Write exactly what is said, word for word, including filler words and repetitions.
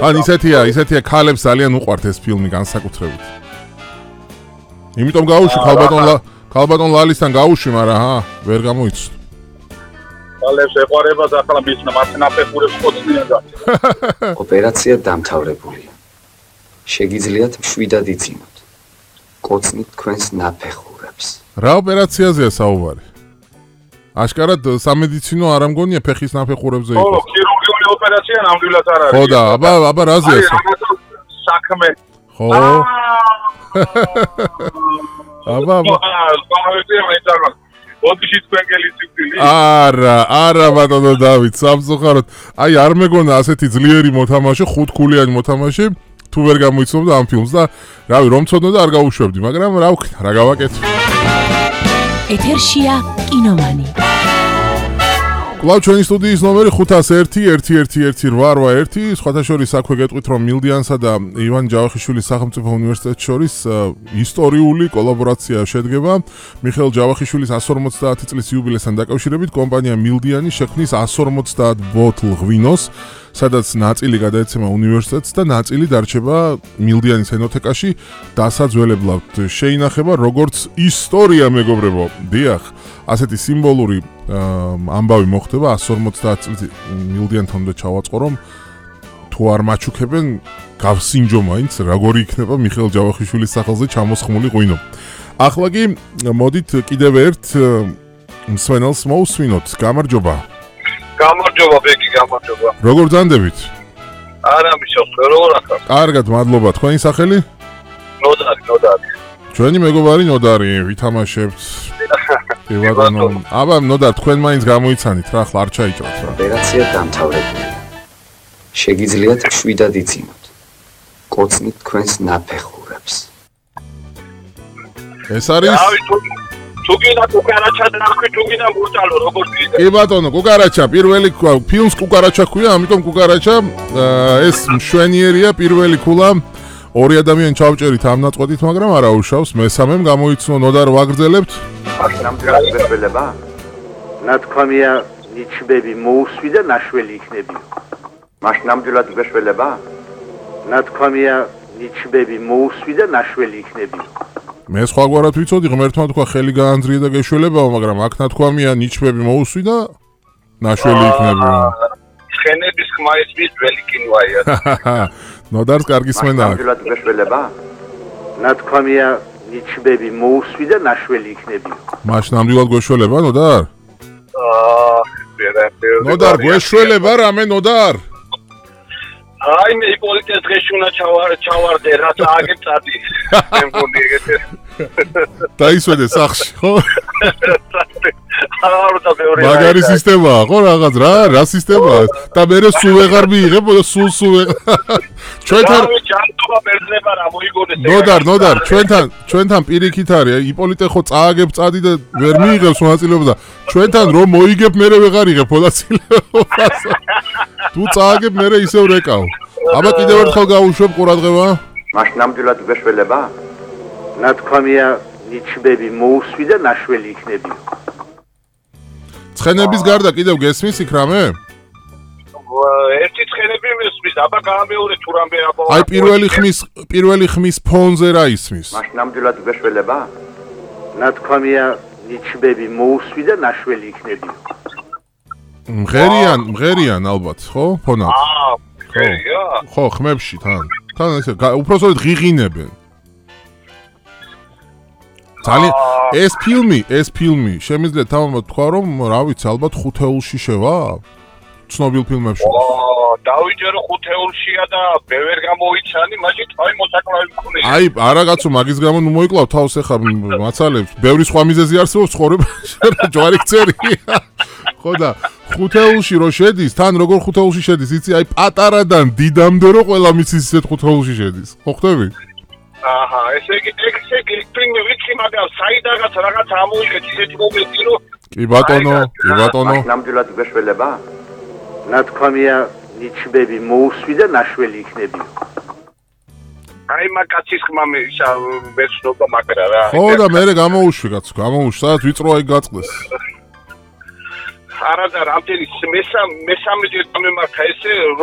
ან ისეთია, ისეთია ქალებს ძალიან უყვართ ეს ფილმი განსაკუთრებით. იმიტომ გაუშვი ქალბატონ ქალბატონ ლალისთან გაუშვი, მაგრამ ჰა, ვერ გამოიცნო. ქალებს ეყარება და ახლა მის ნაფეხურებს ყოცნიან და. ოპერაცია დამთავრებულია. შეგიძლიათ მშვიდად იწინოთ. ყოცნით თქვენს ნაფეხურებს. რა ოპერაციაზეა საუბარი? აშკარად სამედიცინო არ ამგონია ფეხის ნაფეხურებზე იყო. ხო, ქირურგიული ოპერაცია ნამდვილად არ არის. ხო და აბა აბა რაზეა? საქმე. ხო. აბა აბა. ოდიში თქვენ გელიცივდილი? არა, არა ბატონო დავით, სამწუხაროდ. აი არ მეგონა ასეთი ძლიერი მოთამაშე, ხუთქულიანი მოთამაშე თუ ვერ გამოიცნობდა ამ ფილმს და რავი, რომ ცოდნოდა არ გაუშვებდი, მაგრამ რა ვქნა, რა გავაკეთე. ეთერშია კინომანი. კვლავ ჩვენი სტუდიის ნომერი ხუთას ერთი ერთი ერთი ერთი რვა ერთი. სხვათა შორის აქვე გეტყვით, რომ მილდიანსა და ივან ჯავახიშვილის სახელმწიფო უნივერსიტეტს შორის ისტორიული კოლაბორაცია შედგება. მიხეილ ჯავახიშვილის εκατს ორმოცდაათი წლის იუბილესთან დაკავშირებით კომპანია მილდიანი შექმნის εκατს ორმოცდაათ ბოთლ ღვინოს, სადაც ნაწილი გადაეცემა უნივერსიტეტს და ნაწილი დარჩება მილდიანის ენოთეკაში დასაძველებლად. შეინახება როგორც ისტორია, მეგობრებო. დიახ, ასეთი სიმბოლური ამბავი მოხდება εκατს ორმოცდაათ წლის მილდიანთან უნდა ჩავაწყო, რომ თუ არ მაჩუქებენ გავსინჯო მაინც როგორი იქნება მიხეილ ჯავახიშვილის სახელზე ჩამოსხმული ღვინო. ახლა კი მოდით კიდევ ერთ მსმენელს მოусვინოთ. გამარჯობა. გამარჯობა ბეკი, გამარჯობა. როგორ ძანდებით? არა მიშოს, როგორ ახარ? კარგად, მადლობა. თქვენი სახელი? ნოდარი, ნოდარი. ჩვენი მეგობარი ნოდარი, ვითამაშებთ. ევადანო. აბა ნოდარ, თქვენ მაინც გამოიცანით რა, ხლა არ ჩაიჭრათ რა. ოპერაცია დამთავრებულია. შეგიძლიათ მშვიდად იწინოთ. ყოცნით თქვენს ნაფეხურებს. ეს არის თუ გინდა კუკარაჩა დაახვი, თუ გინდა მურტალო, როგორ გინდა? კი ბატონო, კუკარაჩა, პირველი ფილმს კუკარაჩა ქვია, ამიტომ კუკარაჩა ეს მშვენიერია, პირველი ქულა. ორი ადამიანი ჩავჭერით ამ ნაწყვეტით, მაგრამ არა უშავს, მესამემ გამოიცნო ნოდარ ვაგრძელებთ. ნამდვილად გეშველება? ნათქვამია ნიჩბები მოусვი და ნაშველი იქნებიო. მას ნამდვილად გეშველება? ნათქვამია ნიჩბები მოусვი და ნაშველი იქნებიო. მე სხვაგვარად ვიცოდი, ღმერთმა თქვა ხელი გაანძრია და გეშველებაო, მაგრამ აქ ნათქვამია ნიჩბები მოусვი და ნაშველი იქნებიო. ცხენების ხმა ის მის ძველი კინოაა. ნოდარს კარგი სმენა აქვს. ნამდვილად გეშველება? ნათქვამია ნიჩბები მოусვი და ნაშველი იქნებიო. მაშ ნამდვილად გეშველება ნოდარ? აა, ვერაფერი. ნოდარ გეშველება რამე ნოდარ? აი მე იპოლიტეს დღეში უნდა ჩავარდე, რაც აგეწადი. მე მგონი ეგეთე. დაისვენე სახში, ხო? არა და მეორე. მაგარი სისტემაა, ხო რაღაც რა, რა სისტემაა? და მე სულ ვეღარ მიიღებ, სულ სულ ვეღარ. ჩვენთან ჯანტობა ბერძნება რა მოიგონეს. ნოდარ, ნოდარ, ჩვენთან, ჩვენთან პირიქით არის, იპოლიტე ხო წააგებ წადი და ვერ მიიღებს მონაწილეობა და ჩვენთან რომ მოიგებ მე ვეღარ იღებ მონაწილეობას. თუ წააგებ მე ისევ რეკავ. აბა კიდევ ერთხელ გავუშვებ ყურადღება. მას ნამდვილად გეშველება? ნათქვამია ნიჩბები მოусვი და ნაშველი იქნებიო. ცხენების გარდა კიდევ გესმის იქ რამე? ერთი ცხენები მესმის, აბა გამეორე თუ რამე აბა. აი პირველი ხმის პირველი ხმის ფონზე რა ისმის? მას ნამდვილად გეშველება? ნათქვამია ნიჩბები მოусვი და ნაშველი იქნებიო. მღერიან, მღერიან ალბათ, ხო? ფონად. აა, მღერია? ხო, ხმებში თან. თან ესე უпроსოდ ღიღინებენ. ძალიან ეს ფილმი, ეს ფილმი, შემიძლია თამამად თქვა, რომ რა ვიცი, ალბათ ხუთეულში შევა? ცნობილ ფილმებში. აა, დავიჯერო ხუთეულშია და მე ვერ გამოიცანი, მაშინ თავი მოსაკლავი მქონია. აი, არაგაცო მაგის გამო ნუ მოიკლავ თავს ახლა მაცალებს. ბევრი სხვა მიზეზი არსებობს ცხოვრებაში, ჯვარი გწერი. ხო და ხუთეულში რო შედის, თან როგორ ხუთეულში შედის, იცი, აი პატარადან დიდამდე რო ყველა მიცის ისეთ ხუთეულში შედის. ხო ხვდები? აჰა, ესე იგი, ესე იგი, ფილმი ვიცი, მაგრამ საიდანაც რაღაც ამოიღეთ ისეთი მომენტი, რომ კი ბატონო, კი ბატონო. მას ნამდვილად გეშველება? ნათქვამია ნიჩბები მოусვი და ნაშველი იქნებიო. აი მაგაცის ხმა მე მეცნობა მაგრა რა. ხო და მე გამოუშვი კაცო, გამოუშვი, სადაც ვიწროა იქ გაწყდეს. არა და რამდენი მესამე მესამე ჯერ გამემართა ესე